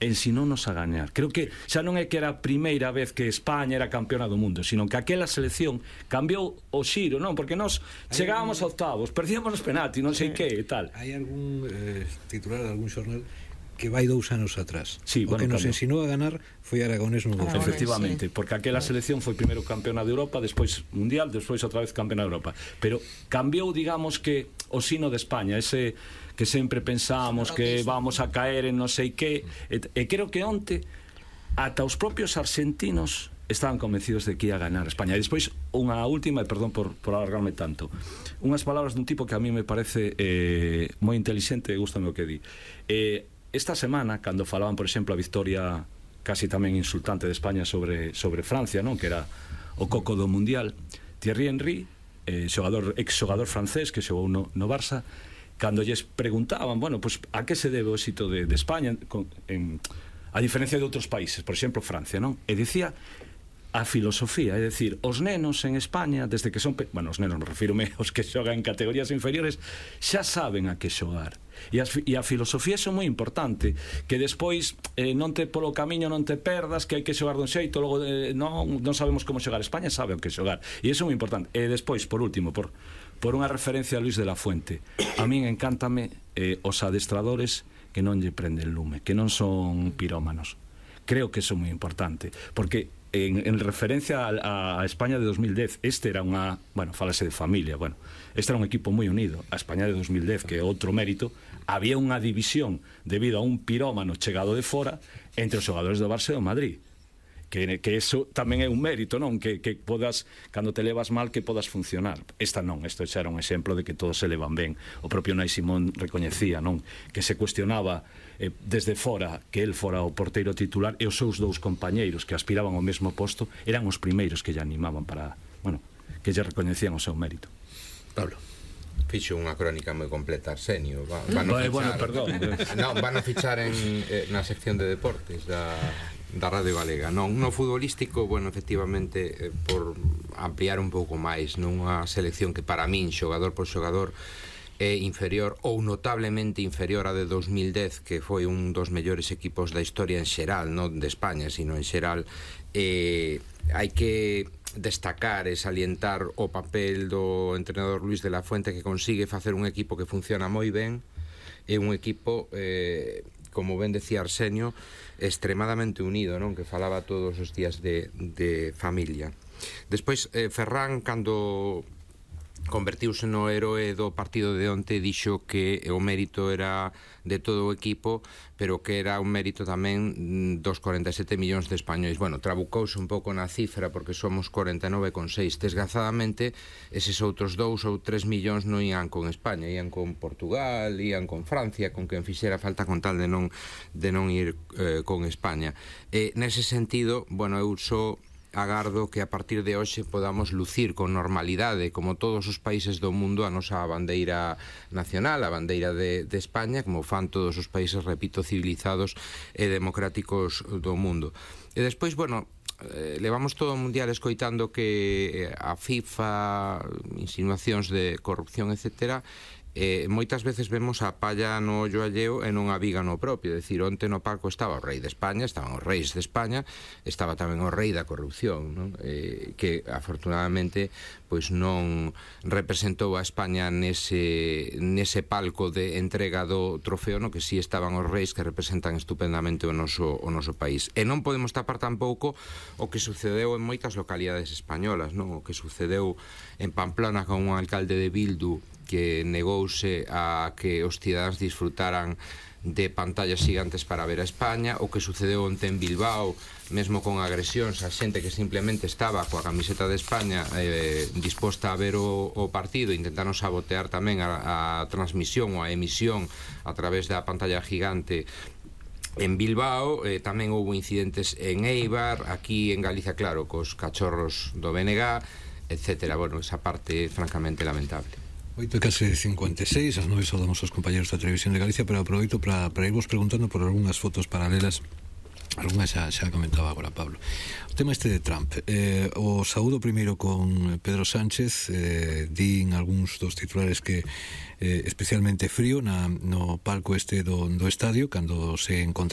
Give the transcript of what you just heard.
ensinounos a gañar. Creo que xa non é que era a primeira vez que España era campeona do mundo, sino que aquela selección cambiou o xiro, non? Porque nós chegábamos a octavos, perdíamos os penaltis, non sei que e tal. Hai algún titular de algún xornal que vai 2 anos atrás. Sí, o que nos ensinou a ganar foi Aragonés no 2000. Efectivamente, porque aquela selección foi primeiro campeona de Europa, despois mundial, despois outra vez campeona de Europa. Pero cambiou, digamos, que o sino de España, ese que sempre pensábamos que vamos a caer en non sei que, e creo que onte ata os propios argentinos estaban convencidos de que ia ganar España. E despois unha última, e perdón por alargarme tanto, unhas palabras dun tipo que a mí me parece moi inteligente, gústame o que di. Esta semana, cando falaban, por exemplo, a victoria casi tamén insultante de España sobre Francia, non? Que era o coco do Mundial, Thierry Henry, exxogador francés que xogou no Barça, cando lles preguntaban, bueno, pues, a que se debe o éxito de España a diferencia de outros países, por exemplo Francia, non? E dicía a filosofía, é dicir, os nenos en España desde que son, bueno, os nenos me refírome aos que xogan en categorías inferiores, xa saben a que xogar. E a filosofía é moi importante, que despois non te polo camiño non te perdas, que hai que xogar dun xeito, logo non sabemos como xogar. España sabe o que xogar, e iso é moi importante. E despois, por último, por unha referencia a Luis de la Fuente, a min encántame os adestradores que non lle prenden lume, que non son pirómanos. Creo que iso é moi importante, porque en referencia a España de 2010, este era unha, bueno, falase de familia, bueno, este era un equipo moi unido. A España de 2010, que é outro mérito, había unha división debido a un pirómano chegado de fora entre os xogadores do Barça e do Madrid, que eso tamén é un mérito, non? Que podas, cando te levas mal, que podas funcionar. Esta non, isto xa era un exemplo de que todos se levan ben. O propio Unai Simón recoñecía, non? Que se cuestionaba desde fora que el fora o porteiro titular, e os seus dous compañeiros que aspiraban ao mesmo posto eran os primeiros que lle animaban para, bueno, que lle recoñecían o seu mérito. Pablo. Fixo unha crónica moi completa, Arsenio. Van a fichar na sección de deportes da Radio Galega. No futbolístico, bueno, efectivamente, por ampliar un pouco máis, nunha selección que para min, xogador por xogador, é inferior ou notablemente inferior a de 2010, que foi un dos mellores equipos da historia en xeral, non de España, sino en xeral. Hai que destacar e salientar o papel do entrenador Luis de la Fuente, que consigue facer un equipo que funciona moi ben, e un equipo, como ben decía Arsenio, extremadamente unido, non? Que falaba todos os días de familia. Despois, Ferran, cando convertiuse no heroe do partido de onte, dixo que o mérito era de todo o equipo, pero que era un mérito tamén dos 47 millóns de españois. Bueno, trabucouse un pouco na cifra, porque somos 49,6. Desgrazadamente, eses outros 2 ou 3 millóns non ian con España, ian con Portugal, ian con Francia, con quen fixera falta, con tal de non ir con España. Nese sentido, bueno, eu só agardo que a partir de hoxe podamos lucir con normalidade, como todos os países do mundo, a nosa bandeira nacional, a bandeira de España, como fan todos os países, repito, civilizados e democráticos do mundo. E despois, bueno, levamos todo o mundial escoitando que a FIFA, insinuacións de corrupción, etcétera, moitas veces vemos a palla no ollo alleo e non a viga no propio. É dicir, onte no palco estaba o rei de España, estaban os reis de España, estaba tamén o rei da corrupción, non? Que afortunadamente pois non representou a España nese palco de entrega do trofeo, no que si estaban os reis, que representan estupendamente o noso país. E non podemos tapar tampouco o que sucedeu en moitas localidades españolas, non? O que sucedeu en Pamplona con un alcalde de Bildu que negouse a que os cidadáns disfrutaran de pantallas gigantes para ver a España, o que sucedeu onte en Bilbao, mesmo con agresións a xente que simplemente estaba coa camiseta de España disposta a ver o partido, intentaron sabotear tamén a transmisión ou a emisión a través da pantalla gigante en Bilbao. Tamén houve incidentes en Eibar, aquí en Galicia, claro, cos cachorros do BNG, etcétera. Bueno, esa parte francamente lamentable. 8:56, as 9 saudamos aos compañeros da Televisión de Galicia, pero aproveito para irvos preguntando por algunhas fotos paralelas algunha xa comentaba agora Pablo. O tema este de Trump, o saúdo primeiro con Pedro Sánchez, din algúns dos titulares que especialmente frío no palco este do estadio cando se encontraron